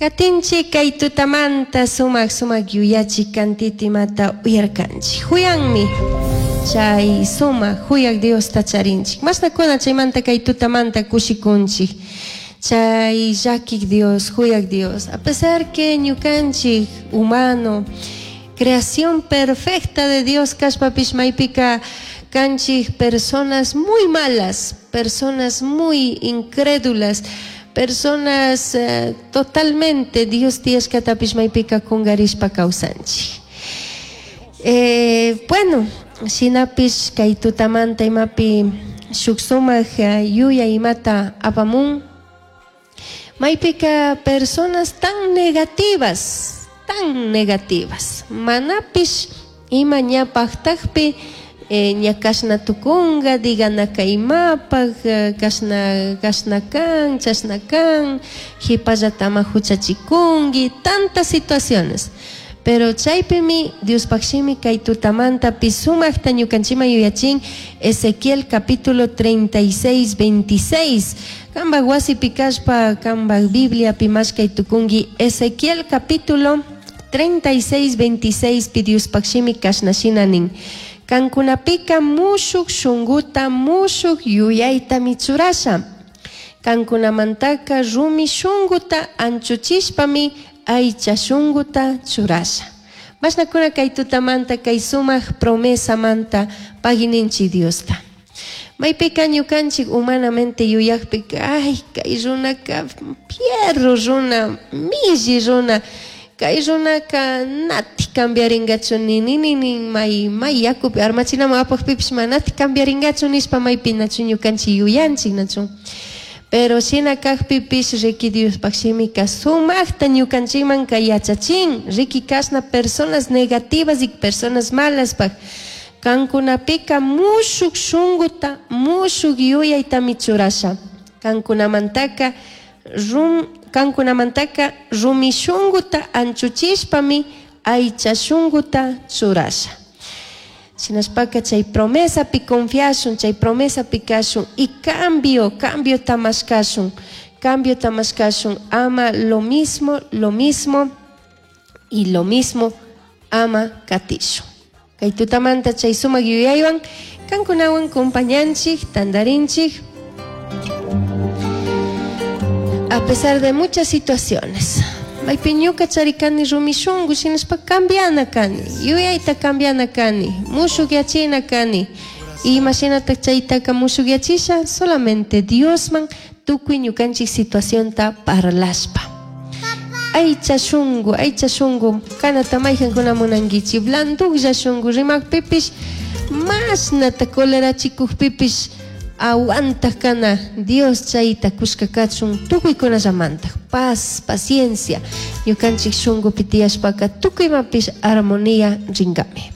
Katinchik kay tutamanta sumak sumak yuyachik kantita imata uyarkanchik. Huyanmi chay sumak huyak Diosta charinchik. Mashnakuna chaymanta kay tutamanta kushikunchik. Chay llakik Dios, huyak Dios. A pesar que ñukanchik humano, creación perfecta de Dios kashpapish maypika kanchik personas muy malas, personas muy incrédulas, personas totalmente Dios tiyashkatapish maypika kungarishpa kawsanchik. Bueno, shinapish kay tutamanta imapi shuk sumak yuyay imata apamun, maypika personas tan negativas, tan negativas, manapish ima ña paktakpi ña kashna tukunga, diganaka imapak, kashna, kashna kan, chashna kan, jipallata ama huchachikunki, tantas situaciones. Pero chaypimi Diospaj shimi kay tutamantapi sumakta ñukanchikman yuyachin Ezequiel capítulo 36, 26. Kambaj wasipi kashpa, kambaj Bibliapi mashkay tukunki Ezequiel capítulo 36, 26 pi Diospaj shimi kashna shina nin. Kankunapika mushuk shunguta, mushuk yuyaytami churasha. Kankunamantaka rumi shunguta anchuchishpami aycha shunguta churasha. Mashnakuna kay tutamanta kay sumak promesamanta pagininchik Diosta. Maypika ñukanchik humanamente yuyakpika, ay, kay runaka fierro runa, milli runa, kay runaka nati cambiaringachu ni ni ni ni may may yakupi armachinaman apakpipish manati cambiaringachu nishpa maypi nachu ñukanchik yuyanchik nachu. Pero shina kakpipish riki Diospaj shimika sumakta ñukanchikman kay yachachin, riki kashna personas negativas y personas malaspaj. Kankunapika mushuk shunguta, mushuk yuyaytami churasha. Kankunamantaka rum, kankunamantaka rumi shunguta anchuchishpami aycha shunguta churasha. Shinashpaka chay promesapi confiashun, chay promesapi kashun y cambio, cambio tamashkashun, cambio tamashkashun, ama lo mismo, lo mismo y lo mismo ama katishun. Kay tutamanta chay sumak yuyaywan kankunawan compañanchik, tandarinchik. A pesar de muchas situaciones, maypi ñuka charikani rumi shunku shinashpa cambiana kani, yuyayta cambiana kani, mushukyachina kani. Imashinatak chaytaka mushukyachisha solamente Diosman tukuy ñukanchik situacionta parlashpa. Aycha shunku, aycha shunku, kanata maykankuna munankichik, blanduklla shunku rimakpipish mashnata colerachikukpipish aguantaj kana Dios chayta kushka kachun tukuykunallamantaj paz, paciencia ñukanchik shunkupi tiyashpaka tukuy imapish armonía rinkami.